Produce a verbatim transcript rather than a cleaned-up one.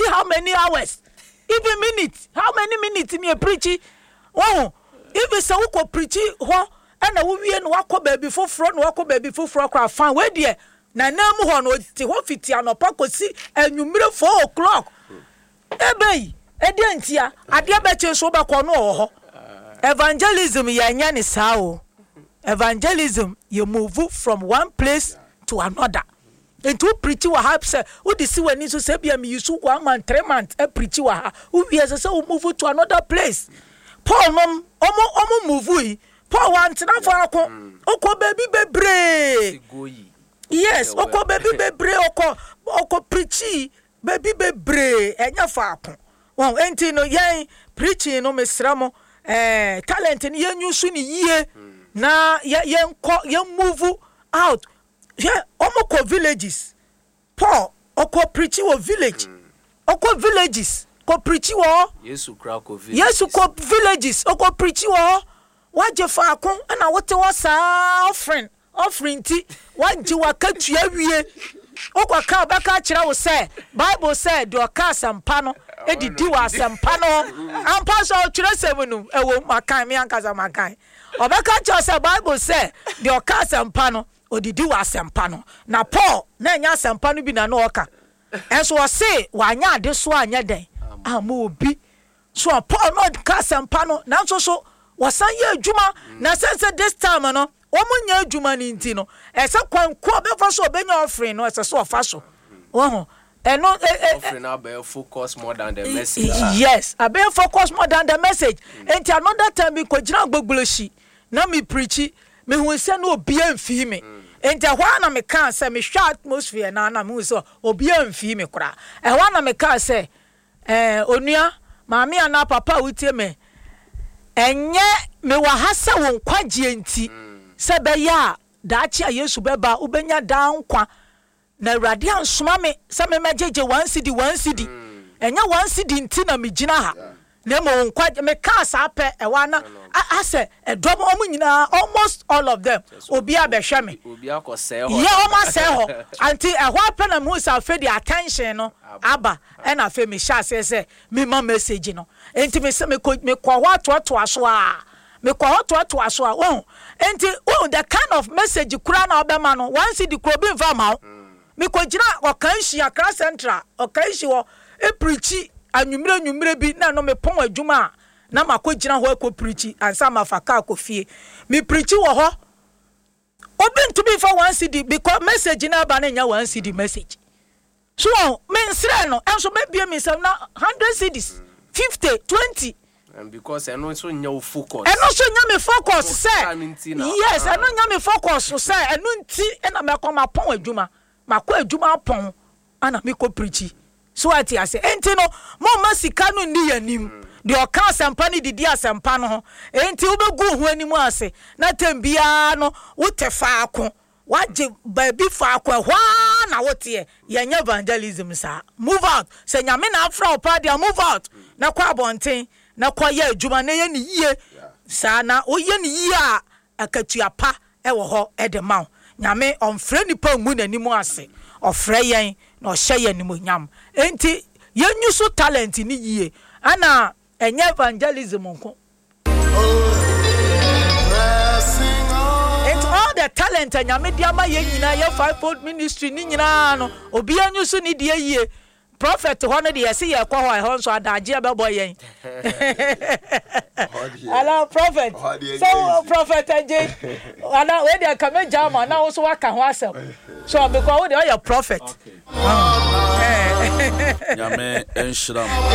Preach how many hours, even minutes, how many minutes ni yɛ preach? Wɔn even sɛ wokɔ preach hɔ ɛna wowie na wakɔ baabi foforɔ na wakɔ baabi foforɔ koraa, fine. Wei deɛ, na nan mu hɔ no, ɔte hɔ fiti anɔpa kɔsi anwummere four o'clock. Ebe yi ɛdeɛ ntia adeɛ bɛkye nso wobɛkɔ no wɔ hɔ. Evangelism, yɛnyɛ ne saa o. Evangelism, yɛ move from one place to another. Nti wo preach wɔ ha sɛ wode si w'ani so sɛ bia meyi so one month, three months preach wɔ ha, wowie, sɛ sɛ wo move to another place. Paul nom, ɔmo ɔmo move yi, Paul wantena faako, ɔkɔ baabi bebree. Yes, ɔkɔ baabi bebree, ɔkɔ ɔkɔ preach baabi bebree, ɛnyɛ faako wɔn. Nti no, yɛn preaching no, mesrɛ mo, ɛɛ talent no, yɛn use ne yie na yɛ yɛn kɔ, yɛn move out. Hwɛ, ɔmo kɔ villages. Paul ɔkɔ preach wɔ village, ɔkɔ villages kɔ preach wɔ hɔ. Yesu kura kɔ villages. Yesu kɔ villages, ɔkɔ preach wɔ hɔ. Wagye faako ɛna wote hɔ saa, offering, offering nti wagye wakatua wie, wokɔ ka, ɔbɛka kyerɛ wo sɛ Bible sɛ deɛ ɔka asɛmpa no edidi wɔ asɛmpa no ho ampa sɛ ɔtwerɛ sɛm no ɛwɔ makan me ankasa makan. Ɔbɛka kyerɛ sɛ Bible sɛ deɛ ɔka asɛmpa no odidi wɔ asɛmpa no. Na Paul na ɛnyɛ asɛmpa no bi na na ɔka, ɛnso ɔse wanyɛ ade so anyɛ dɛn ama obi so. A Paul na ɔka asɛmpa no, nanso so wɔsan yɛ adwuma na sɛ sɛ this time no wɔn nyɛ adwuma no nti no, ɛsɛ kwan ko a ɔbɛfa so ɔbɛnya offering no, ɛsɛ sɛ ɔfa so wɔn ɛno ɛ ɛ Offering abɛyɛ focus more than the message. Yes, abɛyɛ focus more than the message. Nti another time bi kɔ gyina Agbogbloshie na mi preach, mehu sɛ na obiara mfii mi. Nti ɛhɔ ara na meka sɛ mehwɛ atmosphere na na mehu sɛ obiara mfii mi koraa. Ɛhɔ ara na meka sɛ ɛɛ onua maame anaa papa a wotie me, ɛnyɛ mewɔ ha sɛ wo nkwagyeɛ nti, sɛ bɛyɛ a daakye a Yesu bɛba, wobɛnya daa nkwa. Na Awurade ansoma me sɛ memɛgyegye one cedi, one cedi. Ɛnyɛ one cedi nti na megyina ha, na mmom nkwa. Mekaa saa pɛ, ɛwɔ ana asɛ ɛdɔm ɔmo nyinaa, almost all of them, obi abɛhwɛ me. Obi akɔsɛe hɔ. Yɛ ɔmo asɛe hɔ. Anti ɛhɔ apɛ na mehu sɛ afei de attention no aba, ɛna afei mehyɛ aseɛ sɛ mema message no. Nti mesɛ mekɔ mekɔ hɔ atoatoa so a, mekɔ hɔ toatoa so a wɔn. Nti wɔn the kind of message kura na ɔbɛma no, one cedi kura obi nfa ma wo. Mekɔgyina Ɔkanhyi, Accra Central Ɔkanhyi hɔ epreach anwummerɛ nwummerɛ bi, na ɛno mepɔn adwuma a na makɔgyina hɔ akɔ preach ansa mafa kaa kɔ fie. Mepreach wɔ hɔ, obi ntumi nfa one cedi because message na aba no nya one cedi message so wɔn mensrɛ no, ɛnso mɛbie mi nsɛm na hundred cedis, fifty, twenty. And because ɛno nso nyɛ wo focus. Ɛno nso nya me focus sɛ Wo nti na- yes, ah. ɛno nya me focus sɛ ɛno nti ɛna mɛkɔ mapɔn adwuma, makɔ adwuma apɔn ana mekɔ preach so ate ase. Enti no, momma sika no nni yɛn anim. Deɛ ɔka asɛmpa no didi asɛmpa no ho. Enti wobɛgu wo ho anim ase na tɛm biara no wote faako, wagye baabi faako, ɛhɔ ara na woteɛ. Yɛnyɛ evangelism saa. Move out. Sɛ Nyame na afra wo paa deɛ, move out na kɔ abɔnten na kɔ yɛ adwuma na yɛ ne yie saa. Na woyɛ ne yie a, akatua pa ɛwɔ hɔ ɛde ma wo. Nyame ɔmfrɛ nipa ngu n'anim ase, ɔfrɛ yɛn na ɔhyɛ yɛn nimonyam. Enti yɛnyu so talent ne yie, ɛna ɛnyɛ evangelism nko. Nti all the talent a Nyame de ama yɛn nyinaa, yɛ fivefold ministry ne nyinaa no, obiara nyu so ne deɛ yie. Prophet hɔ no deɛ, yɛsi yɛkɔ hɔ, ɛhɔ nso adagyeɛ bɛbɔ yɛn. Ala prophet so, prophet agye ana wei deɛ nka megya ama na wo so waka ho asɛm so, because wo deɛ ɔyɛ prophet. Nyame nhyira mo.